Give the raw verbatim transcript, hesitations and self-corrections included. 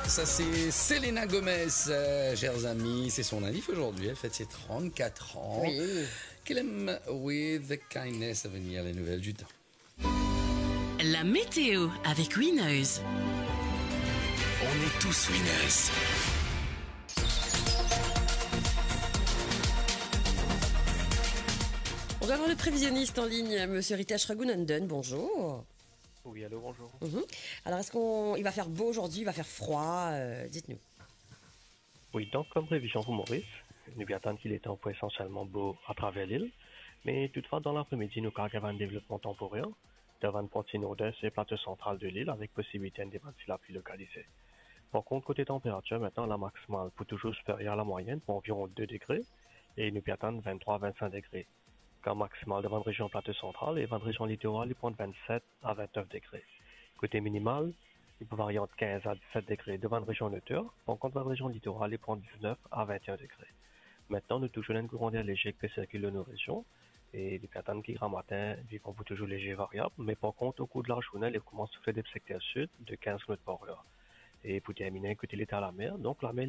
Ça, c'est Selena Gomez, euh, chers amis. C'est son anniv aujourd'hui. Elle fête ses trente-quatre ans. Oui. Kill 'em with kindness à venir, les nouvelles du temps. La météo avec Winners. On est tous winners. On va avoir le prévisionniste en ligne, Monsieur Ritesh Raghunandan. Bonjour. Oui, allô, bonjour. Mhm. Alors, est-ce qu'on, il va faire beau aujourd'hui, il va faire froid, euh, dites-nous. Oui, donk, kom previzion pou Moris, nou pe atann ki letan pou esansielman bo atraver lil, me toutfwa, dan lapre-midi, nou kapav gagn enn devlopman tanporer dan bann parti nord-est e plato santral de lil, avek posibilite enn debann ti lapli lokalize. Par kont, kote tanperatir, aster la maksimal pou touzour siperyer a lamwayenn, pou anviron de degre, e nou pe atann venntrwa a vennsink degre. Kan maksimal dan bann rezion plato santral e bann rezion litoral, li pou ant vennset a ventnef degre. Kote minimal, li pou varie ant kinz a diset degre dan bann rezion noter, par kont bann rezion litoral, li pou ant diznef a vennenn degre. Aster, nou touzour ena enn kouran der lezer ki pe sirkil lor nou rezion, e li pe atann ki gramatin, li pou touzour lezer variab, me par kont, okour de lazourne, li koumans soufle de sekter sid de kinz kilomèt par er. E pou termine, kote leta lamer, donk lamer,